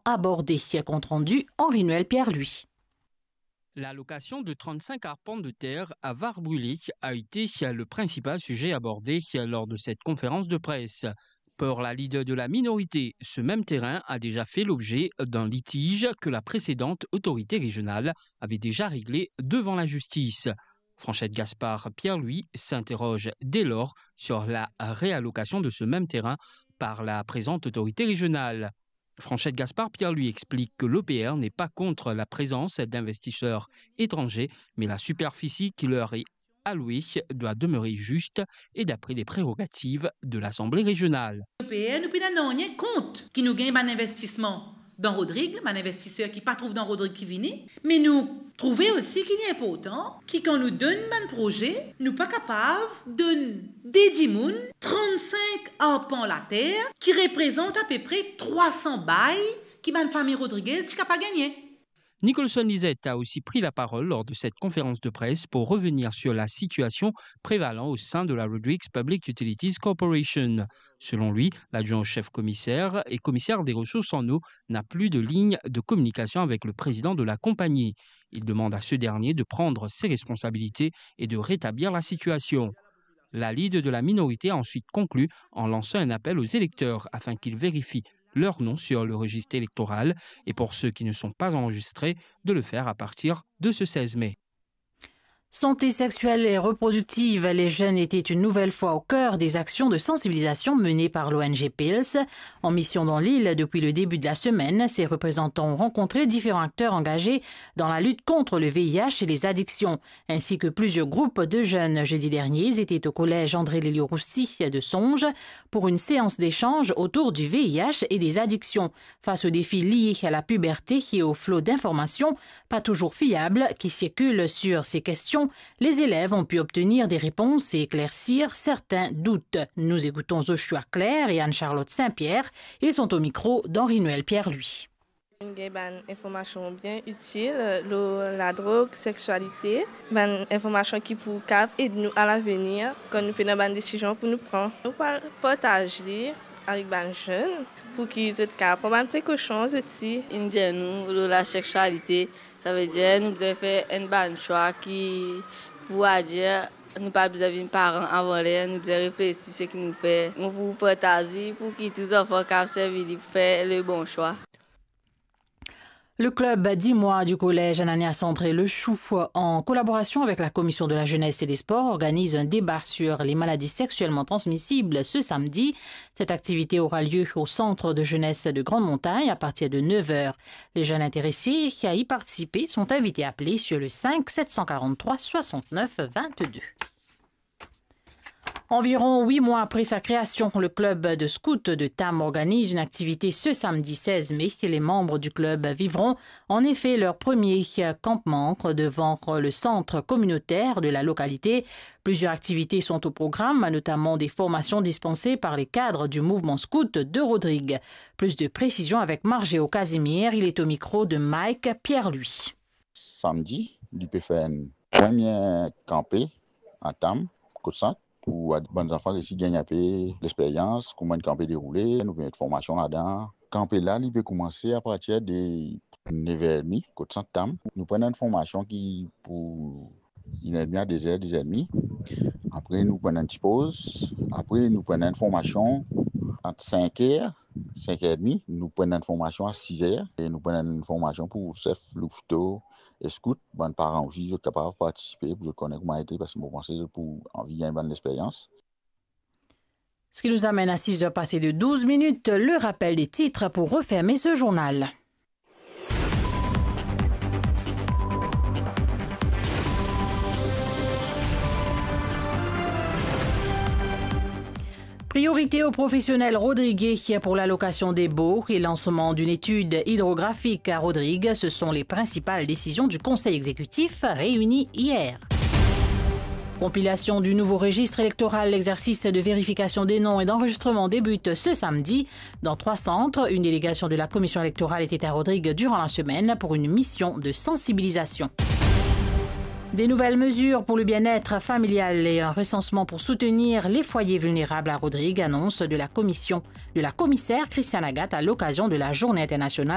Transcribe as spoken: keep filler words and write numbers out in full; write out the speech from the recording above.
abordé. Compte rendu, Henri-Noël Pierre-Louis. L'allocation de trente-cinq arpents de terre à Var-Brûlé a été le principal sujet abordé lors de cette conférence de presse. Pour la leader de la minorité, ce même terrain a déjà fait l'objet d'un litige que la précédente autorité régionale avait déjà réglé devant la justice. Franchette Gaspard Pierre-Louis s'interroge dès lors sur la réallocation de ce même terrain par la présente autorité régionale. Franchette Gaspard Pierre-Louis explique que l'O P R n'est pas contre la présence d'investisseurs étrangers, mais la superficie qui leur est allouée doit demeurer juste et d'après les prérogatives de l'Assemblée régionale. L'O P R, nou pena nanye kont ki nou gagn bann investisman dan Rodrig, bann investiser ki pa trouv dan Rodrig ki vini, me nou trouve osi ki li inportan ki kan nou donn bann proze, nou pa kapav donn de dimoun trannsenk arpan later ki reprezant apepre trwa san bay ki bann fami Rodriguez ti kapav gagne. Nicholson Lisette a aussi pris la parole lors de cette conférence de presse pour revenir sur la situation prévalant au sein de la Rodrigues Public Utilities Corporation. Selon lui, l'adjoint au chef commissaire et commissaire des ressources en eau n'a plus de ligne de communication avec le président de la compagnie. Il demande à ce dernier de prendre ses responsabilités et de rétablir la situation. La leader de la minorité a ensuite conclu en lançant un appel aux électeurs afin qu'ils vérifient leur nom sur le registre électoral et pour ceux qui ne sont pas enregistrés, de le faire à partir de ce seize mai. Santé sexuelle et reproductive, les jeunes étaient une nouvelle fois au cœur des actions de sensibilisation menées par l'O N G Pils. En mission dans l'île depuis le début de la semaine, ses représentants ont rencontré différents acteurs engagés dans la lutte contre le V I H et les addictions, ainsi que plusieurs groupes de jeunes. Jeudi dernier, ils étaient au collège André Lelio Roussy de Songe pour une séance d'échange autour du V I H et des addictions. Face aux défis liés à la puberté et au flot d'informations pas toujours fiables qui circulent sur ces questions, les élèves ont pu obtenir des réponses et éclaircir certains doutes. Nous écoutons Joshua Claire et Anne-Charlotte Saint-Pierre. Ils sont au micro d'Henri-Noël Pierre-Louis. Gagn bann informasion bien itil lor ladrog, sexualité, bann informasion ki pou kav ed nou alavenir kan nou pena bann desizion pou nou pran. Nou pou partaz li avek bann zenn pou ki zot kav pran bann prekosion zot ti. Inn dir nou lor lasexualite, savedir nou bizin fer enn bann swa ki pou adir, nou pa bizin vinn paran avan ler, nou bizin reflesi seki nou fer. Nou pou partaz li pou ki tou zanfan kav servi li pou fer le bon swa. Le club dix mois du collège Ananias André Le Chou, en collaboration avec la Commission de la Jeunesse et des Sports, organise un débat sur les maladies sexuellement transmissibles ce samedi. Cette activité aura lieu au centre de jeunesse de Grande Montagne à partir de neuf heures. Les jeunes intéressés à y participer sont invités à appeler sur le cinq sept cent quarante-trois soixante-neuf vingt-deux. Environ huit mois après sa création, le club de scouts de Tam organise une activité ce samedi seize mai. Les membres du club vivront en effet leur premier campement devant le centre communautaire de la localité. Plusieurs activités sont au programme, notamment des formations dispensées par les cadres du mouvement scout de Rodrigues. Plus de précisions avec Margeo Casimir, il est au micro de Mike Pierre-Louis. Samdi, li pe fer enn premie kanpe a Tam, kot sant, pou bann zanfan resi gagn inpe lexperyans, kouma enn kanpe deroule, nou pe met formasion ladan. Kanpe la, li pe koumanse apartir de nev er edmi, kot sant Tam. Nou pran enn formasion ki pou inn er edmi a de zer, de zer edmi. Apre, nou pran enn ti poz. Apre, nou pran enn formasion ant sink er, sink er edmi. Nou pran enn formasion a siz er. E nou pran enn formasion pou sef, louveteau, e scout. Bann paran osi, zot kapav partisipe pou zot kone kouma ete, parski mo panse zot pou anvi gagn bann lexperyans. Ce qui nous amène à six heures passées de douze minutes, le rappel des titres pour refermer ce journal. Priorité aux professionnels rodriguais pour l'allocation des baux et lancement d'une étude hydrographique à Rodrigues, ce sont les principales décisions du Conseil exécutif réuni hier. Compilation du nouveau registre électoral, l'exercice de vérification des noms et d'enregistrement débute ce samedi. Dans trois centres, une délégation de la Commission électorale était à Rodrigues durant la semaine pour une mission de sensibilisation. Des nouvelles mesures pour le bien-être familial et un recensement pour soutenir les foyers vulnérables à Rodrigues, annonce de la commission de la commissaire Christiane Agathe à l'occasion de la Journée internationale